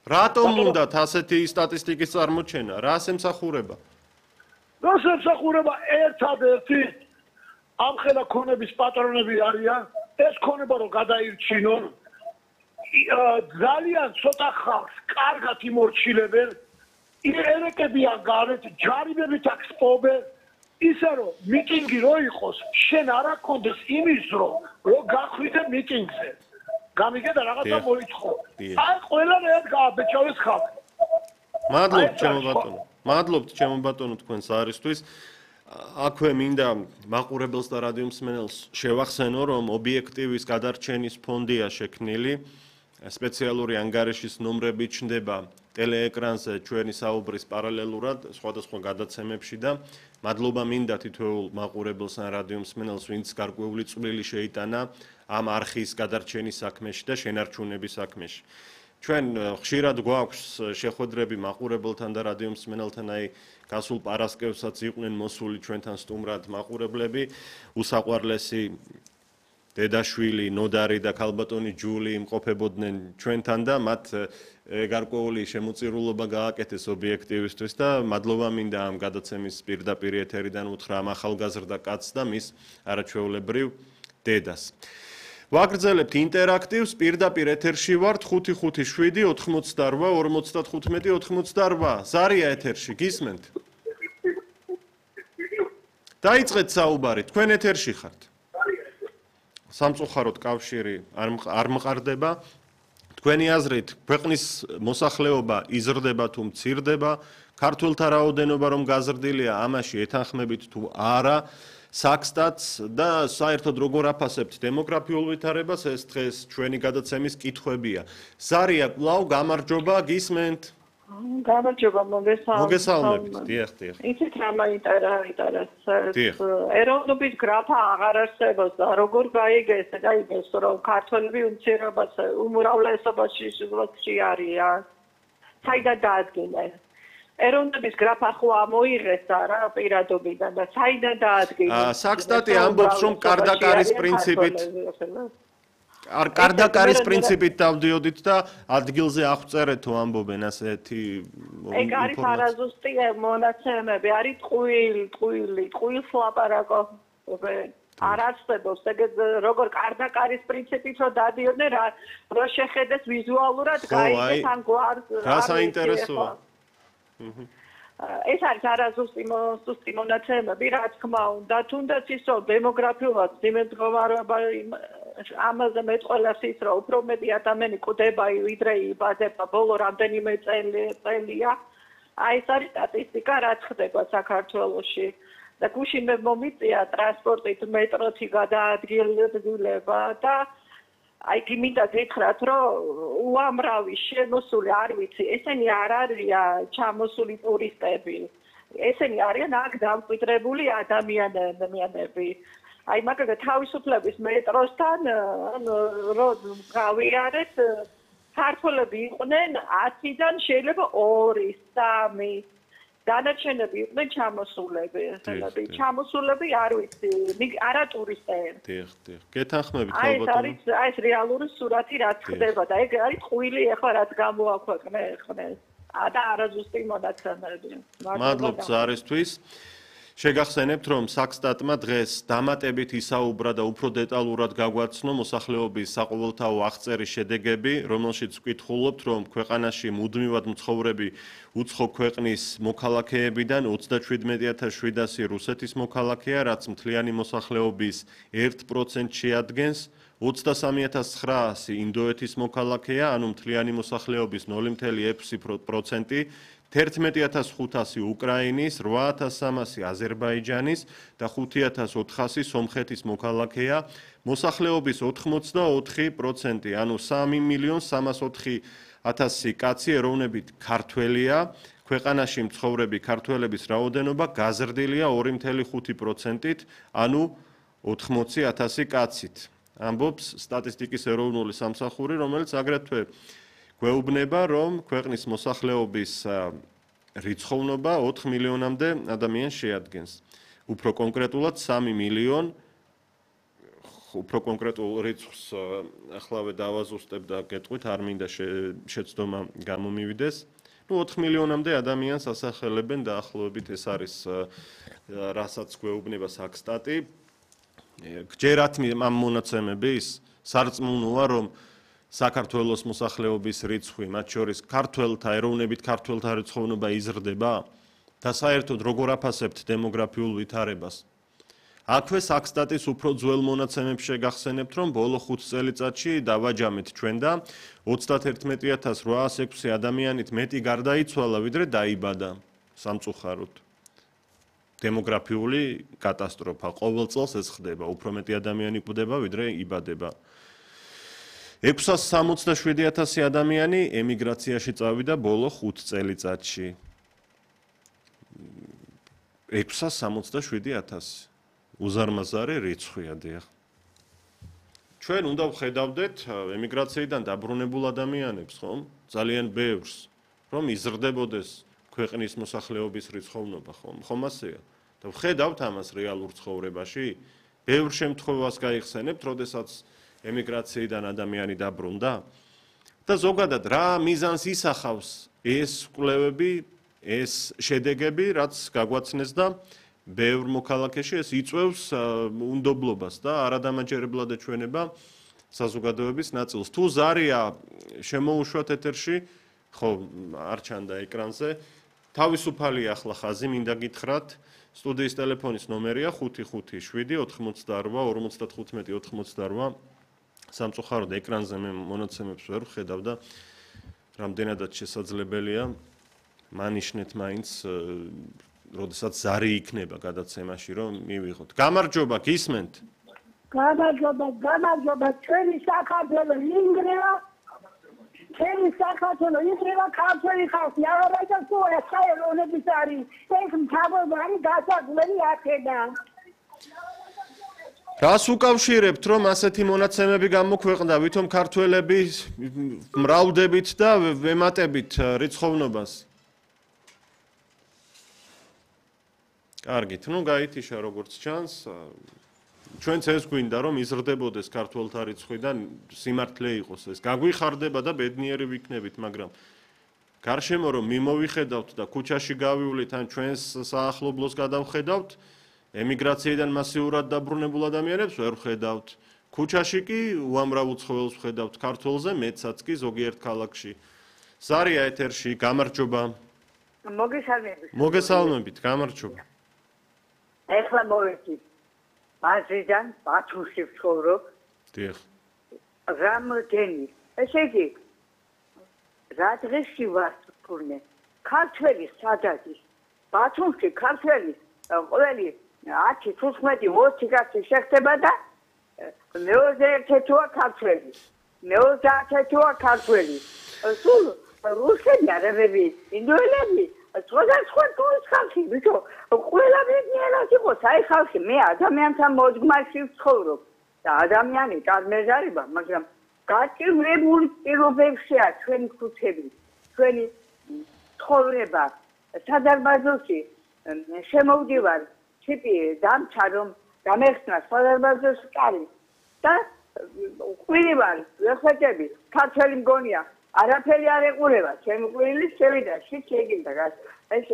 რატომ უნდათ ასეთი სტატისტიკის წარმოჩენა? რას ემსახურება? რას ემსახურება ერთადერთი ამხელა ქონების პატრონები არიან, ეს ქონება რომ გადაირჩინონ, ძალიან ცოტა ხალხს კარგად იმორჩილებენ, ერეკებიან გარეთ, ჯარიმებით აქვს პოვენ, ისე რომ მიტინგი რო იყოს, შენ არ აქონდეს იმის რომ გახვიდე მიტინგზე. გამიგე და რაღაცა მოიწყო. აი ყველამ ერთ გააბეჭავეს ხალხი. მადლობთ ჩემო ბატონო თქვენს არისთვის. აქვე მინდა მაყურებელს და რადიო მსმენელს შევახსენო, რომ ობიექტივის გადარჩენის ფონდია შექმნილი. სპეციალური ანგარიშის ნომრები ჩნდება ტელეეკრანზე ჩვენი საუბრის პარალელურად სხვადასხვა გადაცემებში და მადლობა მინდა თითოეულ მაყურებელს ან რადიო მსმენელს, ვინც გარკვეული წვლილი შეიტანა ამ არხის გადარჩენის საქმეში და შენარჩუნების საქმეში. ჩვენ ხშირად გვაქვს შეხვედრები მაყურებელთან და რადიო მსმენელთან, აი გასულ პარასკევსაც იყვნენ მოსული ჩვენთან სტუმრად მაყურებლები, უსაყვარლესი დედაშვილი, ნოდარი და ქალბატონი ჯული იმყოფებოდნენ ჩვენთან და მათ გარკვეული შემოწირულობა გააკეთეს ობიექტივისთვის და მადლობა მინდა ამ გადაცემის პირდაპირ ეთერიდან უთხრა ამ ახალგაზრდა კაცს და მის არაჩვეულებრივ დედას. ვაგრძელებთ ინტერაქტივს, პირდაპირ ეთერში ვართ 557 88 55 88. ზარია ეთერში, გისმენთ? დაიწყეთ საუბარი, თქვენ ეთერში ხართ. სამწუხაროდ კავშირი არ მყარდება. თქვენი აზრით, ქვეყნის მოსახლეობა იზრდება თუ მცირდება, ქართველთა რაოდენობა რომ გაზრდილია, ამაში ეთანხმებით თუ არა, საქსტატს და საერთოდ როგორ აფასებთ დემოგრაფიულ ვითარებას, ეს დღეს ჩვენი გადაცემის კითხვებია. ზარია, კვლავ გამარჯობა, გისმენთ? გამარჯობა, მოგესალმებით, დიახ. იცით რა მაინტერესებს? ეროვნების გრაფა აღარ არსებობს და როგორ გაიგეს, რომ ქართველები უმრავლესობაში არიან. საიდან დაადგინეს? ეროვნების გრაფა ხო ამოიღეს რა პირადობიდან და საიდან დაადგინეს? საქსტატი ამბობს, რომ კარდაკარის პრინციპით კარდაკარის პრინციპით დავდიოდით და ადგილზე აღწერეთო ამბობენ ასეთი ეგ არის არაზუსტი მონაცემები, არის ტყუილს ლაპარაკობენ. არ არსებობს ეგ როგორ კარდაკარის პრინციპით რომ დადიოდნენ რა შეხედეს ვიზუალურად გაიგეს ამ გვარს რა საინტერესოა. ეს არის არაზუსტი მონაცემები, რა თქმა უნდა, თუნდაც ის რომ დემოგრაფიულად იმედგომარეობა ამაზე მეტყველებს ის რომ უფრო მეტი ადამიანი კვდება ვიდრე იბადება ბოლო რამდენიმე წელია. აი ეს არის სტატისტიკა, რაც ხდება საქართველოში. და გუშინ მე მომიწია ტრანსპორტით მეტროთი გადაადგილება და აი გიმინდა გითხრათ რომ უამრავი შემოსული არ ვიცი, ესენი არ არიან ჩამოსული ტურისტები. ესენი არიან აქ დამკვიდრებული ადამიანები. აი მაგალითად თავისუფლების მეტროსთან რომ გავიარეთ, ქართველები იყვნენ 10-დან შეიძლება 2-3. დანარჩენები იყვნენ ჩამოსულები, ჩამოსულები არ ვიცი, არა ტურისტები. დიახ. გეთანხმებით ალბათ. აი ეს რეალური სურათი რაც ხდება და ეგ არის ტყუილი ახლა რაც გამოაქვეყნეს. და არაზუსტი მონაცემები. მადლობთ ზარისთვის. შეგახსენებთ, რომ საქსტატმა დღეს დამატებით ისაუბრა და უფრო დეტალურად გაგვაცნო მოსახლეობის საყოველთაო აღწერის შედეგები, რომელშიც ვკითხულობთ, რომ ქვეყანაში მუდმივად მცხოვრები უცხო ქვეყნის მოქალაქეებიდან 37700 რუსეთის მოქალაქეა, რაც მთლიანი მოსახლეობის 1% შეადგენს, 23900 ინდოეთის მოქალაქეა, ანუ მთლიანი მოსახლეობის 0.6%. 11500 უკრაინის, 8300 აზერბაიჯანის და 5400 სომხეთის მოქალაქეა. მოსახლეობის 84%, ანუ 3.304.000 კაცი ეროვნებით ქართველია. ქვეყანაში მცხოვრები ქართველების რაოდენობა გაზრდილია 2.5%-ით, ანუ 80,000 კაცით. ამბობს სტატისტიკის ეროვნული სამსახური, რომელიც აგრეთვე გვეუბნება, რომ ქვეყნის მოსახლეობის რიცხოვნობა 4 მილიონამდე ადამიანს შეადგენს. უფრო კონკრეტულად 3.5 უფრო კონკრეტულ რიცხვს ახლავე დავაზუსტებ და გეტყვით, არ მინდა შეცდომა გამომივიდეს. 4 მილიონამდე ადამიანს ასახელებენ დაახლოებით ეს არის რასაც გვეუბნება საქსტატი. გჯერათ ამ მონაცემების სარწმუნოა, რომ საქართველოს მოსახლეობის რიცხვი, მათ შორის ქართველთა, ეროვნებით ქართველთა რიცხოვნობა იზრდება და საერთოდ როგორ აფასებთ დემოგრაფიულ ვითარებას. აქვე საქსტატის უფრო ძველ მონაცემებს შეგახსენებთ, რომ ბოლო 5 წელიწადში დავაჯამეთ ჩვენ და 31806 ადამიანით მეტი გარდაიცვალა, ვიდრე დაიბადა სამწუხაროდ. დემოგრაფიული კატასტროფა. ყოველ წელს ეს ხდება, უფრო მეტი ადამიანი კვდება, ვიდრე იბადება. 667,000 ადამიანი ემიგრაციაში წავიდა ბოლო 5 წელიწადში. 667,000 უზარმაზარი რიცხვია დიახ. ჩვენ უნდა ვხედავდეთ ემიგრაციიდან დაბრუნებულ ადამიანებს, ხომ? ძალიან ბევრს, რომ იზრდებოდეს ქვეყნის მოსახლეობის რიცხოვნობა, ხომ ასეა? და ვხედავთ ამას რეალურ ცხოვრებაში? ბევრ შემთხვევას გაიხსენებთ, როდესაც ემიგრაციიდან ადამიანი დაბრუნდა? და ზოგადად რა მიზანს ისახავს ეს კვლევები, ეს შედეგები, რაც გაგვაცნეს და ბევრ მოქალაქეში ეს იწვევს უნდობლობას და არადამაჯერებლად ეჩვენება საზოგადოების ნაწილს. თუ ზარია შემოუშვათ ეთერში, ხო, არ ჩანდა ეკრანზე, თავისუფალი ახლა ხაზი მინდა გითხრათ, სტუდიის ტელეფონის ნომერია 557-45-58. სამწუხაროდ ეკრანზე მე მონაცემებს ვერ ვხედავ და რამდენადაც შესაძლებელია მანიშნეთ მაინც როდესაც ზარი იქნება გადაცემაში, რომ მივიღოთ. გამარჯობა, გისმენთ? გამარჯობა, ჩვენი საქართველო ინგრევა. ჩვენი საქართველო ინგრევა, ქართველი ხალხი აღარაჯა სულა საერთონების არის. ეს მთავარი გასაგვლელი აქედან. რას უკავშირებთ, რომ ასეთი მონაცემები გამოქვეყნდა, ვითომ ქართველები მრავლდებით და ვემატებით რიცხოვნობას? კარგით, ნუ გაითიშა როგორც ჩანს. ჩვენც ეს გვინდა, რომ იზრდებოდეს ქართველთა რიცხვიდან სიმართლე იყოს ეს. გაგვიხარდება და ბედნიერი ვიქნებით, მაგრამ გარშემო რომ მიმოვიხედავთ და ქუჩაში გავივლით ან ჩვენს საახლობლოს გადავხედავთ, ემიგრაციიდან მასიურად დაბრუნებულ ადამიანებს ვერ ვხედავთ. ქუჩაში კი უამრავ უცხოელს ვხედავთ, ქართველზე მეცაც კი ზოგიერთ ქალაქში. ზარია ეთერში, გამარჯობა. მოგესალმებით, გამარჯობა. ეხლა მოვეცი. ბაზრიდან ბათუმში ვცხოვრობ. დიახ. რამოდენი. ესე იგი, რა დღეში ვარ თურმე? ქართველი სადადი. ბათუმში ქართველი ყველი 10-15-20 კაცი შეხდება და მეოზე ერთეთოა ქართველი. მეოზე ერთეთოა ქართველი. სულ რუსები არაბები, ინდოელები, სხვადასხვა თულის ხალხი, ვიო, ყველა ბედნიერად იყოს, აი ხალხი, მე ადამიანთან მოძგმარში ვცხოვრობ და ადამიანი კազմეზარება, მაგრამ გაჭირვებული პირობებშია ჩვენი ქუჩები, ჩვენი ცხოვრება, სადარბაზოში შემოვდივარ, ტიპი დამჩა რომ გამეხსნა სადარბაზოს კარი და ყვირივარ, ვეხეთები, ქართველი მგონია. არაფერი არ ეყურება, ჩემი ყვირილი შევიდა, შეგინდა გას. ეს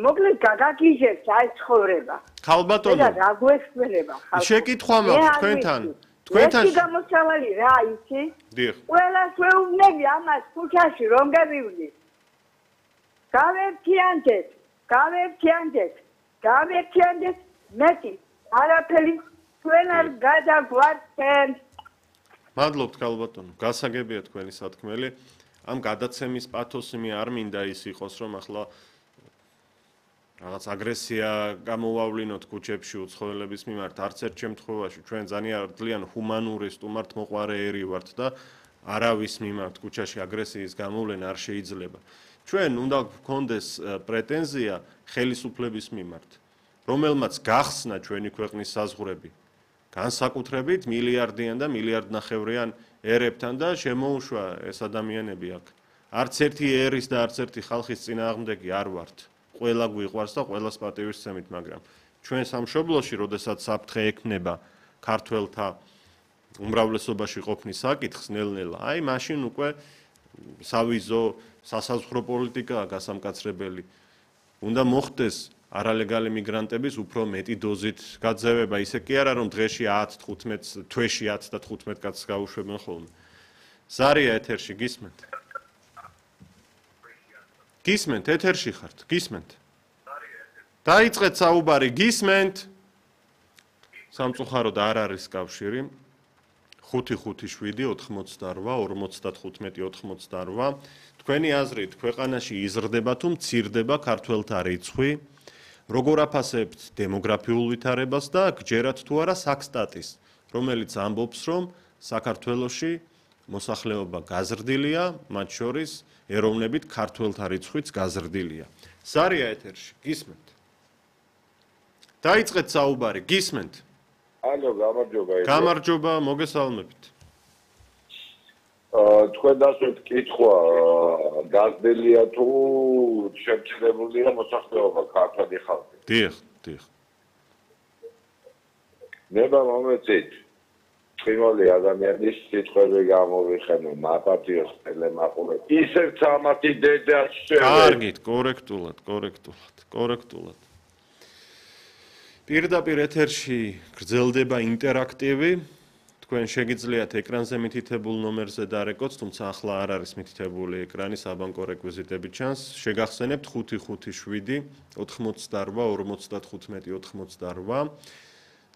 მოკლედ გაგაგიჟებს აი ცხოვრება. ხალბატონო. და რა გვესწრება ხალხი. შეკითხვა მაქვს თქვენთან. თქვენთან გამოსავალი რა იცი? დიახ. ყველას ვეუბნები ამას ქუჩაში რომ გავივლი. გავერთიანდეთ, მეტი არაფერი თქვენ არ გადაგვარცენ. მადლობთ ხალბატონო, გასაგებია თქვენი სათქმელი. ამ გადაცემის პათოსი მე არ მინდა ის იყოს, რომ ახლა რაღაც აგრესია გამოვავლინოთ ქუჩებში უცხოელების მიმართ, არც ერთ შემთხვევაში ჩვენ ძალიან ჰუმანური სტუმართმოყვარე ერი ვართ და არავის მიმართ ქუჩაში აგრესიის გამოვლენა არ შეიძლება. ჩვენ უნდა გქონდეს პრეტენზია ხელისუფლების მიმართ, რომელმაც გახსნა ჩვენი ქვეყნის საზღვრები. განსაკუთრებით მილიარდიან და მილიარდნახევრიან ერებთან და შემოუშვა ეს ადამიანები აქ. არც ერთი ერის და არც ერთი ხალხის წინააღმდეგი არ ვართ. ყველა გვიყვარს და ყველას პატივისცემით, მაგრამ ჩვენ სამშობლოში, როდესაც საფრთხე ექმნება ქართველთა უმრავლესობაში ყოფნის საკითხს ნელ-ნელა, აი მაშინ უკვე სავიზო სასაზღვრო პოლიტიკაა გასამკაცრებელი. უნდა მოხდეს არალეგალი მიგრანტების უფრო მეტი დოზით გაძევება, ისე კი არა რომ დღეში 10-15 თვეში 10 და 15 კაცს გაუშვებენ ხოლმე. ზარია ეთერში გისმენთ? გისმენთ, ეთერში ხართ, გისმენთ? დაიწყეთ საუბარი, გისმენთ? სამწუხაროდ არ არის კავშირი. 557-88-55-88. თქვენი აზრით, ქვეყანაში იზრდება თუ მცირდება ქართველთა რიცხვი? როგორ აფასებთ დემოგრაფიულ ვითარებას და გჯერათ თუ არა საქსტატის, რომელიც ამბობს, რომ საქართველოში მოსახლეობა გაზრდილია, მათ შორის ეროვნებით ქართველთა რიცხვიც გაზრდილია. ზარია ეთერში, გისმენთ? დაიწყეთ საუბარი, გისმენთ? ალო, გამარჯობა. გამარჯობა, მოგესალმებით. თქვენ დასვეთ კითხვა, გაზრდილია თუ შემცირებულია მოსახლეობა ქართული ხალხი? დიახ, დიახ. ნება მომეწით. წვიმული ადამიანის სიტყვები გამოვიხენო, მაპატიოს ტელემაყურე. ისევ ცამათი დედა კარგით, კორექტულად. პირდაპირ ეთერში გრძელდება ინტერაქტივი. თქვენ შეგიძლიათ ეკრანზე მითითებულ ნომერზე დარეკოთ, თუმცა ახლა არ არის მითითებული ეკრანი, საბანკო რეკვიზიტები ჩანს. შეგახსენებთ 557 88 55 88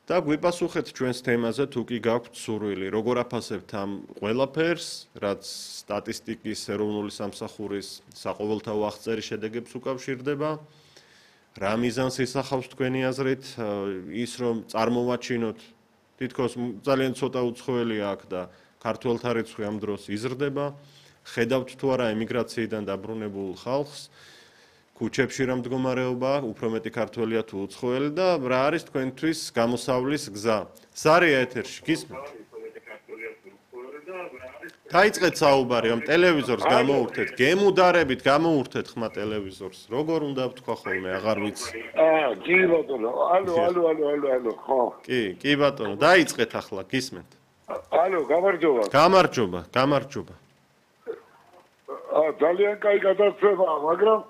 და გვიპასუხეთ ჩვენს თემაზე თუ კი გაქვთ სურვილი. როგორ აფასებთ ამ ყველაფერს, რაც სტატისტიკის ეროვნული სამსახურის საყოველთაო აღწერის შედეგებს უკავშირდება? რა მიზანს ისახავს თქვენი აზრით ის რომ წარმოვაჩინოთ თითქოს ძალიან ცოტა უცხოელი აქ და ქართველთა რიცხვი ამ დროს იზრდება, ხედავთ თუ არა ემიგრაციიდან დაბრუნებულ ხალხს, ქუჩებში რა მდგომარეობა, უფრო მეტი ქართველია თუ უცხოელი და რა არის თქვენთვის გამოსავლის გზა? ზარია ეთერში, გისმენთ? დაიწყეთ საუბარი, ამ ტელევიზორს გამოურთეთ, გემუდარებით გამოურთეთ ხმა ტელევიზორს. როგორ უნდა ვთქვა ხოლმე, აღარ ვიცი. კი ბატონო, ალო, ხო. კი ბატონო, დაიწყეთ ახლა, გისმენთ? ალო, გამარჯობა. გამარჯობა. ძალიან კაი გადაცემაა, მაგრამ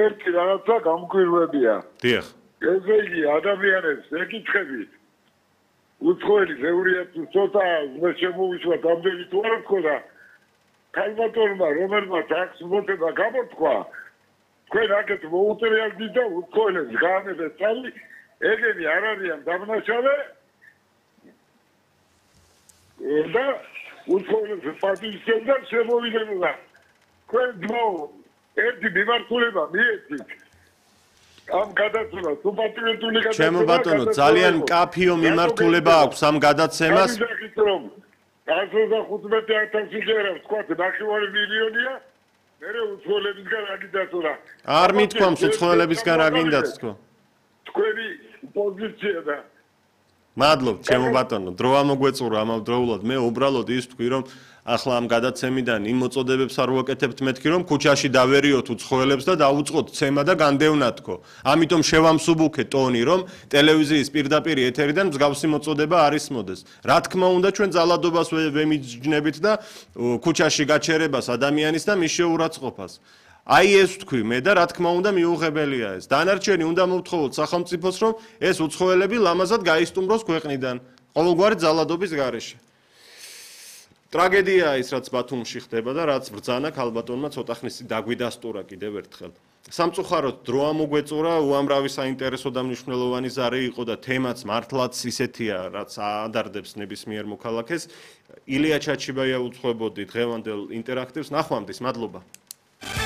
ერთი რაღაცა გამკვირვებია. დიახ. ესე იგი, ადამიანებს ეკითხებით. უცხოელი ზეურია თუ ცოტა შემოვიშვა გამდელი თუ არა თქო და ქალბატონმა რომელმაც აქვს მოწება გამოთქვა თქვენ აქეთ მოუწერიალდით და უცხოელებს გაანებეთ წალი ეგენი არ არიან დამნაშავე და უცხოელებს პატივისცემ და შემოვიდნენ თქვენ ძმო ერთი მიმართულება მიეცით ამ გადაცემას უპატრიოტული გადაცემა ჩემო ბატონო ძალიან მკაფიო მიმართულება აქვს ამ გადაცემას 115,000 ჯერავს თქვა 9 მილიონია მერე უცხოელებისგან რა გიდასურა არ მithქვამს უცხოელებისგან რა გინდათ თქო თქვენი პოზიცია და მადლობ ჩემო ბატონო დრო ამოგვეწურა ამავდროულად მე უბრალოდ ის თქვი რომ ახლა ამ გადაცემიდან იმ მოწოდებებს არ ვაკეთებთ მეთქი რომ ქუჩაში დავერიოთ უცხოელებს და დაუწყოთ ცემა და განდევნათქო ამიტომ შევამსუბუქე ტონი რომ ტელევიზიის პირდაპირ ეთერიდან მსგავსი მოწოდება არ ისმოდეს რა თქმა უნდა ჩვენ ძალადობას ვემიჯნებით და ქუჩაში გაჩერებას ადამიანის და მის შეურაცხყოფას აი ეს თქვი მე და რა თქმა უნდა მიუღებელია ეს დანარჩენი უნდა მოვთხოვოთ სახელმწიფოს რომ ეს უცხოელები ლამაზად გაისტუმროს ქვეყნიდან ყოველგვარი ძალადობის გარეშე ტრაგედიაა ის რაც ბათუმში ხდება და რაც ბრძანა ქალბატონმა ცოტა ხნის დაგვიდასტურა კიდევ ერთხელ სამწუხაროდ დრო ამოგვეწურა უამრავი საინტერესო და მნიშვნელოვანი ზარი იყო და თემაც მართლაც ისეთია რაც ადარდებს ნებისმიერ მოქალაქეს ილია ჩაჩიბაია უძღვებოდი დღევანდელ ინტერაქტივს ნახვამდის მადლობა